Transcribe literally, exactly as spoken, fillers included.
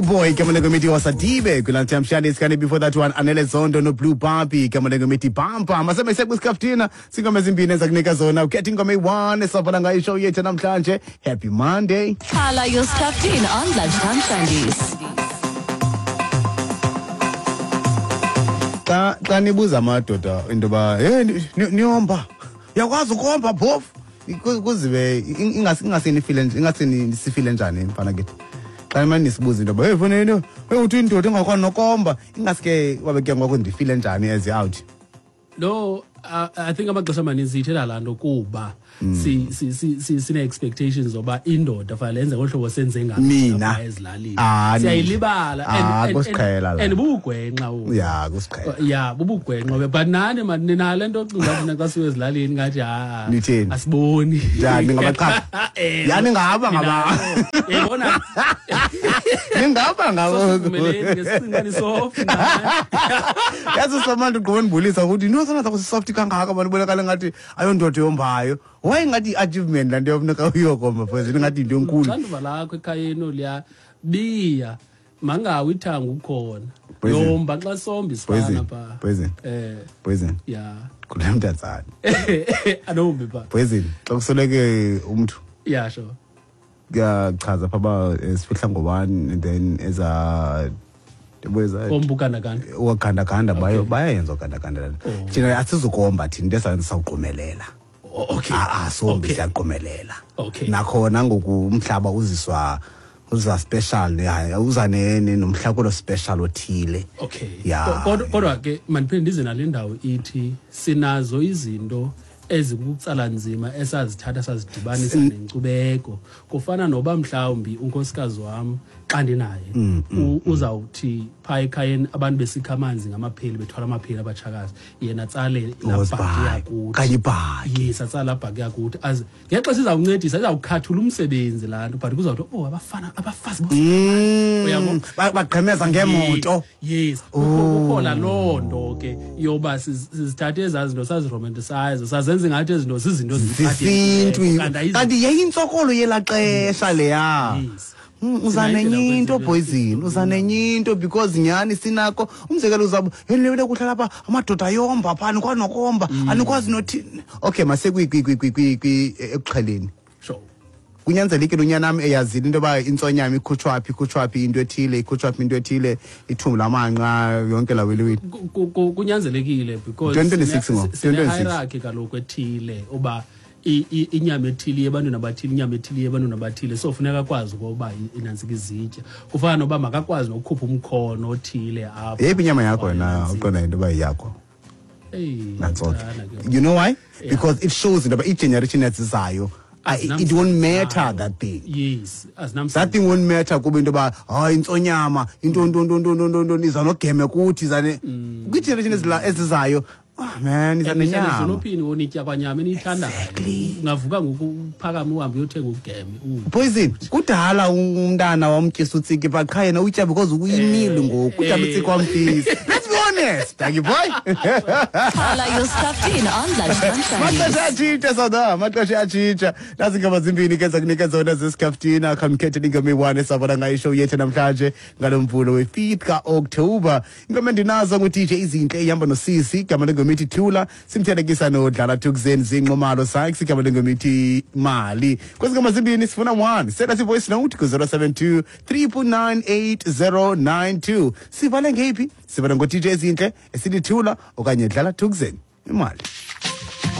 Boy igama lengoma Wasadibe kwi-Lunchtime Shandies. Kanti before that one, Anele Zondo no Blue Barbie, igama lengoma Bampa. Masebe sekwisikaftina singoma ezimbini ezakunika zona ukhetha ingoma eyi-one esabhala ngayo ishow yethu namhlanje. Happy Monday. Khala your Skhaftin on Lunchtime Shandies. Xa xa nibuza amadoda into yoba hey niyomba, uyakwazi ukomba phofu, kuzibe ingase nifile ingase nisifile njani mfana kithi xa mani nisibuza into yoba hey fanele hey uthi indoda engakwazi nokomba, ingaske wabe ke ngoku ndifile njani as out. No, I, I think amaxesha amaninzi ithela laa nto kuba si si si sine expectations zoba indoda fanele yenze ngohlobo senze ngalo ezilalini. Siyayilibala and and bubugwenxa obu. Yeah, kusiqhela. Yeah, bubugwenxa but nani man ninale nto ocinga thina xa siwe ezilalini ngathi ha asiboni. Ya ningabaqha. Ya ningaba ngaba. Yebona. Ningaba ngaba. Ngesinqani soft. Yazi somantu ugqobe ndibulisa ukuthi no sana zakho soft kangaka abantu bonakala ngathi ayondoda yombayo. Why ngathi achievement lanto yofuneka uyokomba phezulu ngathi into enkulu. Xanduva lakho ekhayeni oliya biya mangawi ithanga ukhona. Yomba xa sombi sifana pha. Poison. Eh. Poison. Yeah. Kule mntatsana. Anombi pha. Poison. Xa kusoleke umuntu. Yeah, sure. Kuyachaza pha ba sifihla ngobani and then eza yabo kombukana kanda. Wakanda kanda bayo bayayenza kanda kanda. Thina asizukomba thina into esawugqumelela. Okay. Ah sombi siyaqomelela. Okay. Nakhona ngoku umhlaba uziswa uza special ya uza nomhlakulo special othile. Okay. Yeah. Kodwa kodwa ke mandiphinde ndize nale ndawo ithi sinazo izinto ezikutsala nzima esazithatha sazidibanisa nenkcubeko. Kufana noba mhlawumbi unkosikazi wami xa ndinaye uzawuthi pha ekhayeni abantu besikha amanzi ngamapheli bethwala amapheli abatshakazi yena atsale labhaki yakuthi kanye ibhaki. Yes, atsale labhaki yakuthi az ngexesha izawuncedisa izawukhathula umsebenzi laa nto but kuzawuthi oh abafana abafazi uyabo bagqemeza ngemoto. Yes, kukhona loo nto ke yoba sizithathe ezaa zinto saziromanticize sazenza ngathi ezinto zizinto zesintu kanti yayintsokolo yelaa xesha leya. Uza nenye into Poison, uza nenye into because nyani sinako umzekelo uzabo helele kuhlala lapha amadoda ayomba pha anikwazi nokomba anikwazi nothi okay mase kwi kwi kwi kwi ekuxheleni. Sure. Kunyanzelekile unyana nami eyazile into yoba intsonyama ikhutshwa phi ikhutshwa phi into ethile ikhutshwa phi into ethile ithumbu lamanqa yonke la weliweli. Kunyanzelekile because twenty twenty-six ngo twenty twenty-six hierarchy kaloku ethile uba inyama ethile ebantwini abathile inyama ethile ebantwini abathile so funeka akwazi ukuba inantsika izitya kufana noba makakwazi nokukhupha umkhono othile apha. Yeyiphi inyama yakho wena uqonda into yoba yakho? Hey, you know why? Because it shows into yoba igeneration ezizayo it won't matter that thing. Yes, that thing won't matter kuba into yoba hayi intsonyama into nto nto nto nto nto iza nogeme kuthi izane kwigeneration ezizayo. Ah man, iza nenyama. Edolophini wonitya kwanyama eniyithandayo. Ungavuka ngoku uphakame uhambe uyothenga ugeme. Poison, kudala umntana wamtyisa utsiki but qha yena uyitya because uyimile ngoku. Kudala utsiki wamfisa. Let's be honest, thank you boy. Khala your Skhaftin on Lunchtime Shandies. Maxesha atshintsha sada, maxesha atshintsha. Nazi ingoma zimbini ke zakunika zona zeSkhaftina. Khamkhethele ingoma eyi-one esabona ngayo ishow yethu namhlanje ngalo mvulo we-fifth ka-October. Ingoma endinazo ngu-D J Izinhle ihamba nosisi igama lengoma ithi Thula, simthelekisa noDlala Thukzeni Zinqomalo Sykes igama lengoma ithi Mali. Kwezi ngoma zimbini sifuna one. Send us a voice note ku zero seven two three nine eight zero nine two. Sivale ngeyiphi? Sivale ngo-D J Izinhle esithi Thula okanye Dlala Thukzeni. Imali.